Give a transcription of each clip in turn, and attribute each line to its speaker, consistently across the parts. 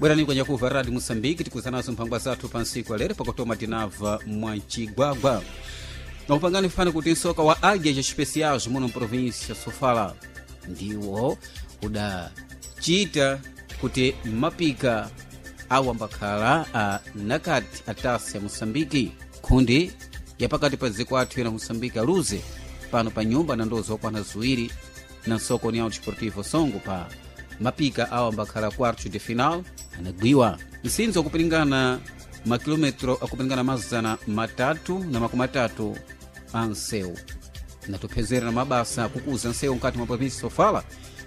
Speaker 1: Bwerani kwenye kuva Radio Moçambique tikuzanazo mphangwa zathu pa ntsiku alero pakutoma tinabva mwancigwagwa nakupangani fani kuti nsoka wa águias especiais muno mprovíncia Sofala ndiwo udacita kuti mapika awo ambakhala a nakati atasi ya Moçambique khundi yapakati pa dziko athu ena Moçambique aluze pano pa nyumba na ndozo okwana ziwiri na nsoko União Desportivo Songo pa mapika awo ambakhala quarto de final anagwiwa msinzo akupiringana makilometro akupiringana 330 a nsewu natupezera na mabasa akukuza nsewu mkati mwa provinsi Sofala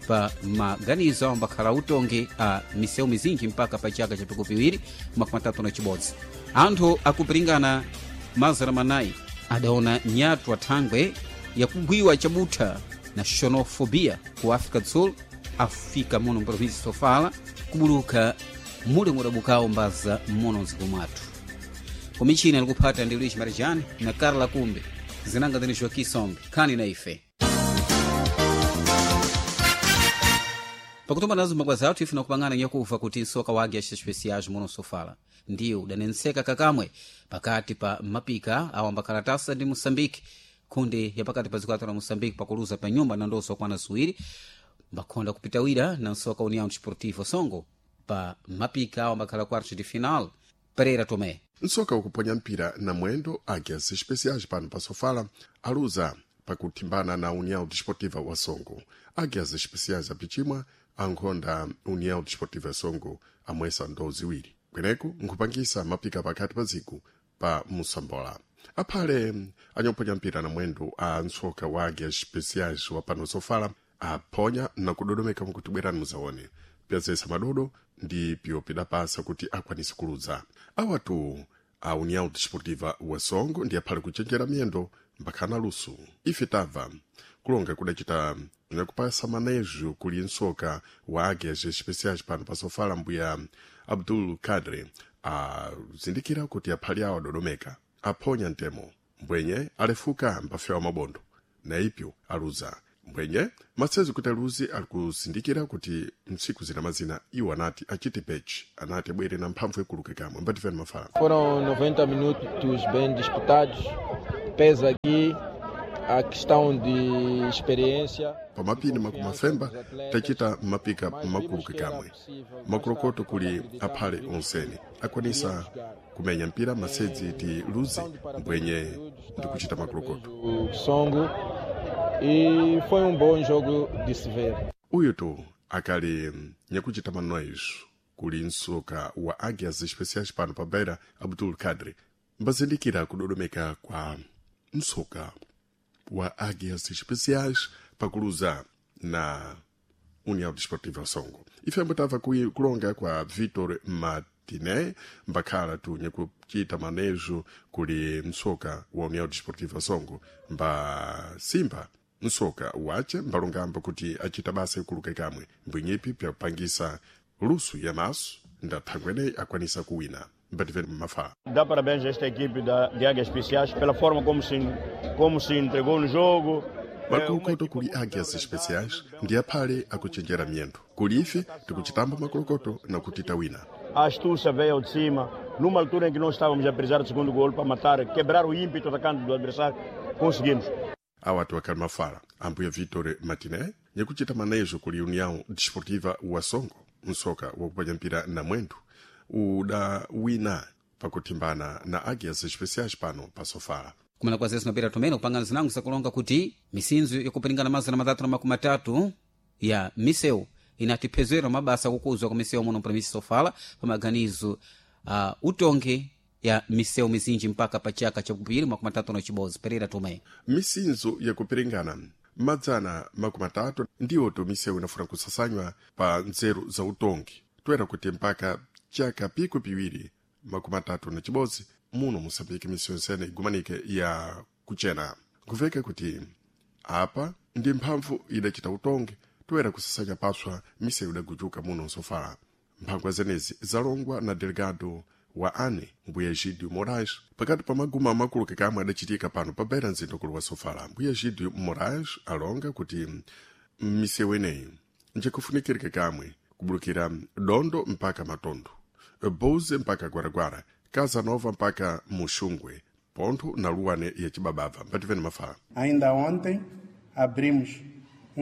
Speaker 1: pa maganizo awo ambakhala utongi a misewu mizinji mpaka pa chaka cha pikupiwiri 36. Anthu akupiringana 400 adaona nyatwa thangwe yakugwiwa chabutha na xenofobia ku África do Sul afika muno mprovinsi Sofala kubuluka mule mudabukawo mbaza muno mdziko mwathu. Kumichina likuphata ndi Luis Marijani na Carla Kumbe zinanga zini Joaquim Sombe khani na ife pakutomba nazo mphangwa athu ife nakupangana nyakuva kuti nsoka wa águias especiais muno Sofala ndiwo udanenseka kakamwe pakati pa mapika awo ambakalatasa ndi Moçambique khundi yapakati pa dziko la Moçambique pakuluza pa nyumba na ndoso okwana ziwiri mbakhonda kupitawira na nsoka União Desportivo Songo pa mapika awo ambakhala quarto de final. Pereira Tomé.
Speaker 2: Nsoka ukuponya mpira na mwendo Águias Especiais pano pa Sofala aluza pakuthimbana na União Desportiva wa Songo. Águias Especiais apichimwa ankhonda União Desportiva Songo amwesa ndo ziwiri kweneku nkhupangisa mapika pakati pa ziku pa Moçambola. Aphale anyoponya mpira na mwendo a nsoka wa Águias Especiais wa pano Sofala aphonya na kudodomeka mkuti bwerani muzaone pyazesa madodo ndi pyo pidapasa kuti akwanise kuluza. Awatu a União Desportiva wa Songo ndi aphale kuchenjera miyendo mbakhana lusu. Ife tabva kulonga kudacita nakupasa manejo kuli nsoka wa Águias Especiais pano pa Sofala mbuya Abdul Kadre azindikira kuti aphale awo adodomeka aphonya ntemo mbwenye alefuka mbafewa mabondo na ipyo aluza mbwenye matsezi kuti aluzi alikuzindikira kuti mtsiku zina mazina iwo anati achite pechi anati abwere na mphamvu ikuluke kamwe mbatifeni mafala.
Speaker 3: Foram 90 minutos bem disputados. Pesa aqui a questão de experiência.
Speaker 2: Pamapini makumafemba tachita mapika makuluke kamwe makulokoto kuli aphale onsene akwanisa kumenya mpira masedzi ti luzi mbwenye ndikuchita makulokoto.
Speaker 3: O Songo e foi um bom jogo de se ver.
Speaker 2: Uyu tu akali nyakuchita manoizo kuli nsoka wa Águias Especiais pano pa Beira Abdul Kadri mbazindikira kudodomeka kwa nsoka wa Águias Especiais pakuluza na União Desportiva Songo. Ife ambotava kulonga kwa Vitor Martinet mbakhala tu nyakuchita manejo kuli msoka wa União Desportiva Songo mba Simba nsoka wace mbalongambo kuti achita basa ikuluke kamwe mbwinyipi pyakupangisa lusu ya maso ndathangweneyi akwanisa kuwina. Mbativeni mafala.
Speaker 4: Dá parabéns a esta equipe de Águias Especiais pela forma como se entregou no jogo.
Speaker 2: Makulukoto kuli Águias Especiais ndi aphale akuchenjera miyendo kuli ife tikuchitamba makulukoto nakuti tawina.
Speaker 4: A astúcia veio ao de cima, numa altura em que nós estávamos a precisar do segundo golo para matar, quebrar o ímpeto atacante do adversário, conseguimos.
Speaker 2: Awatu akali mafala ambuya Vitor Martinet nyakuchita manejo kuli União Desportiva wa Songo msoka wakuponya mpira na mwendo udawina pakuthimbana na Águias Especiais pano pa Sofala.
Speaker 1: Kumana kwa zesu napera tomene kupangana zinango zakulonga kuti misinzo yakupiringana 330 ya misewu inatiphezera mabasa akukuzwa kwa misewu muno mprovinsi Sofala pa maganizo utongi ya misewu mizinji mpaka pa chaka chakupiri 36. Pereira Tomé.
Speaker 2: Misinzo yakupiringana 330 ndiwo to misewu inafuna kusasanywa pa nzeru za utongi toera kuti mpaka chaka piku piwiri 31 muno Moçambique misewu nsene igumanike ya kuchena. Nkuveka kuti apa ndi mphamvu idacita utongi toera kusasanya paswa misewu idagujuka muno Sofala. Mphangwa zenezi zalongwa na delegado wa ane mbuya Egidio Moraes pakati pa maguma amakulu kamwe adachitika pano pa Beira mzinda ukulu wa Sofala. Mbuya Egidio Moraes alonga kuti misewu ineyi njikufunikirike kamwe Kubulukira Dondo mpaka Matondo, Buze mpaka Gwaragwara, Casa Nova mpaka Muxungwe, ponto na Luane ya Chibabava. Mbativeni mafala.
Speaker 5: Ainda ontem abrimos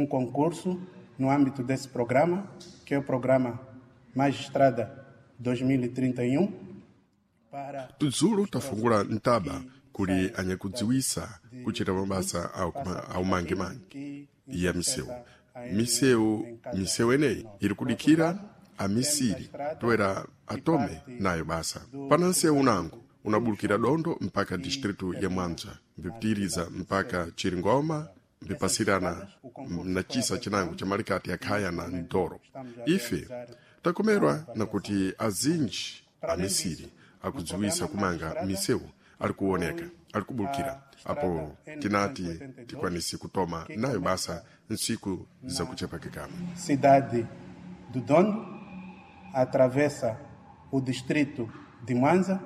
Speaker 5: concurso no âmbito desse programa, que é o programa Mais Estrada 2031. Para
Speaker 2: Tudzulo tafungula ntaba kuli anyakudziwisa kuchita mabasa aumangemange ya misewu. Misewu eneyi iri kudikira amisiri toera atome nayo basa. Pana nsewu unango unabulukira Dondo mpaka distritu ya Mwanza, mbipitiriza mpaka Chiringoma, mbipasirana na chisa chinango cha malikati ya Khaya na Ndoro. Ife takomerwa na kuti azinji amisiri akudziwisa kumanga misewu ali kuoneka ali kubulukira apo tinati tikwanise kutoma nayo basa ntsiku zakuchepakikama.
Speaker 5: Cidade do Dondo atravessa o distrito de Mwanza,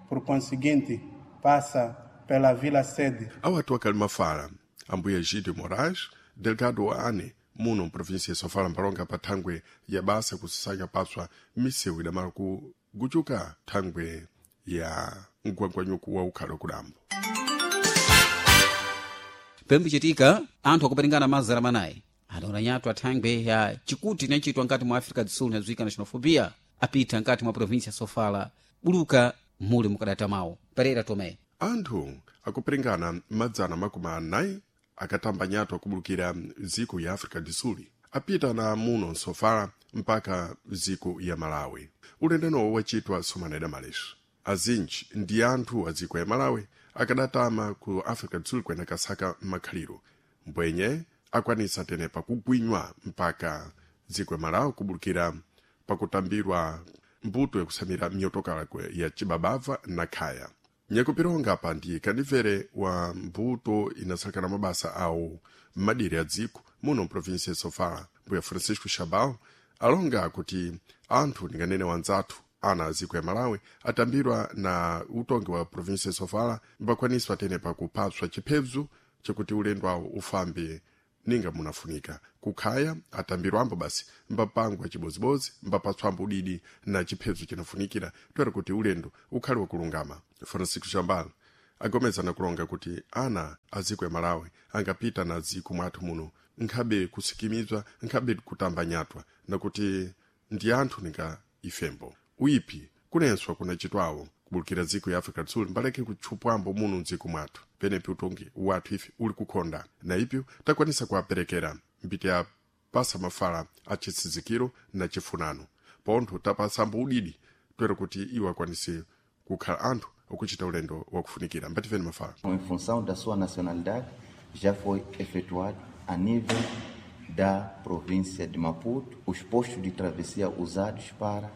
Speaker 5: por conseguinte passa pela vila sede.
Speaker 2: Awatu akali mafala ambuye Gide Moraes, delegado wa ane muno mprovinsia ya Sofala mpalonga pa thangwe ya basa kusasanya paswa misewu idamala kuguchuka thangwe ya mgwangwanyuku wa ukhalo kudambo.
Speaker 1: Pembichitika anthu akuperingana mazara manayi adaona nyatu athangwe ya chikuti inachitwa nkati mwa Africa do Sul inadziwika na xenofobia apita nkati mwa província ya Sofala buluka muli mukadata mawo. Pereira Tomé.
Speaker 2: Anthu akuperingana 400 akatamba nyatu akubulukira dziko ya Africa do Sul apita na muno Nsofala mpaka dziko ya Malawi. Ulendenowo wachitwa somaneda maleso. Azinji ndi anthu a dziko ya Malawi akadatama ku Africa do Sul kwena kasaka makhaliro mbwenye akwanisa tenepa kugwinywa mpaka dziko ya Malawi kubulukira pakutambirwa mbuto yakusamira miyotokala ya chibabava na khaya. Nyakupironga pa ndi kandimvere wa mbuto inasalekana mabasa awo m'madiri a dziko muno mprovinsia ya Sofala, mbuya Francisco Chabal alonga kuti anthu ndinganene wanzathu ana a dziko ya Malawi atambirwa na utongi wa provinsia ya Sofala mbakwaniswa tenepa kupatswa chiphebzu chakuti ulendo awo ufambe ninga munafunika. Kukhaya atambirwambo basi mbapangwa chibozibodzi mbapatswambo udidi na chiphedzo chinafunikira toera kuti ulendo ukhale wakulungama. Francisco Chambala agomezana kulonga kuti ana a dziko ya Malawi angapita na dziko mwathu muno nkhabe kusikimizwa nkhabe kutamba nyatwa nakuti ndi anthu ninga ifembo. Uipi kunenswa kunachitwawo kubulukira dziko ya Africa do Sul mbaleke kutchupwambo muno mdziko mwathu penepi utongi wathu ife uli kukhonda na ipyo takwanisa kuwaperekera mbiti ya pasa mafala a chitsizikiro na chifunano pontho tapasambo udidi toera kuti iwo akwanise kukhala anthu okuchita ulendo wakufunikira. Mbatifeni mafala.
Speaker 6: Em função da sua nacionalidade, já foi efetuado a nível da província de Maputo os postos de travessia usados para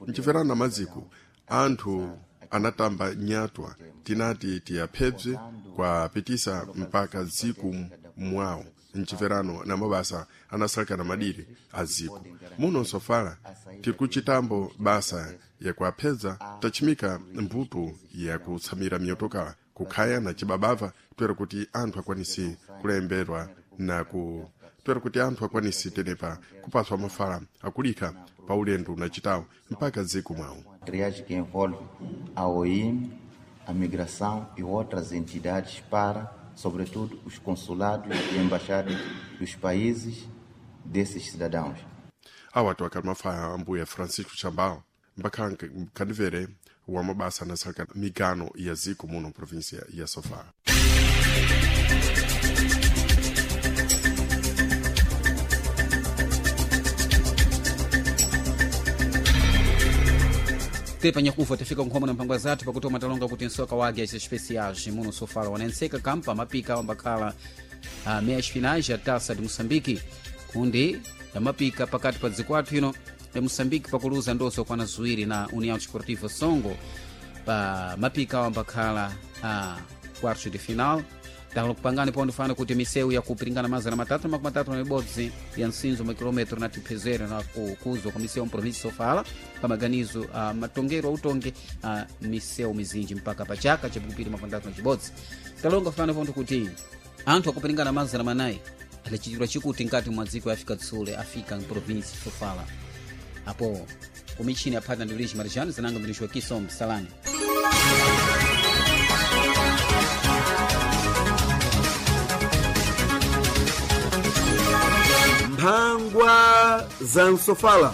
Speaker 2: Mchiverano na maziko anthu anatamba nyatwa tinati tiyaphebze kwapitisa mpaka dziko mwawo mchiverano na mabasa anasalekana madiri a dziko muno Nsofala. Tiri kuchitambo basa yakuaphedza tachimika mbuto yakutsamira miyotokala kukhaya na chibabava toera kuti anthu akwanise kulemberwa na ku toera kuti anthu akwanise tenepa kupaswa mafala akulika pa ulendo unachitawo mpaka dziko mwawo.
Speaker 6: Triagem que envolve a OIM, a migração e outras entidades para, sobretudo, os consulados e embaixadas dos países desses cidadãos.
Speaker 2: Awatu akali mafala ambuya Francisco Chambal mbakhala kandimvere wa mabasa anasaleka migano ya dziko muno província ya Sofala.
Speaker 1: Tepa nyakufa tafika nkhoma na mphangwa zathu pakuti umatalonga kuti nsoka wa águias especiais muno Sofala wanenseka kampa mapika ambakhala meias finais ya Taça de Moçambique kundi ya mapika pakati pa dziko athu ino ya Moçambique pakuluza ndoso kwana ziwiri na União Desportiva Songo pa mapika ambakhala quartos de final. Dalo kupangani pondo fana kuti misewu yakupiringana 331 ya nsinzo makilometro na tiphezero na kukuzwa kwa misewu mprovinsi Sofala pa maganizo a matongero autonge a misewu mizinji mpaka pa chaka chapikupiri mapandatu na chibodzi. Talonga fana pondo kuti anthu akupiringana 400 adachitirwa chikuti nkati mwa dziko ya Afrika do Sul afika mprovinsi Sofala. Apo kumichini aphata ndi Luiz Marjano, zinanga mbirisho kiso msalani.
Speaker 7: Mphangwa za msofala.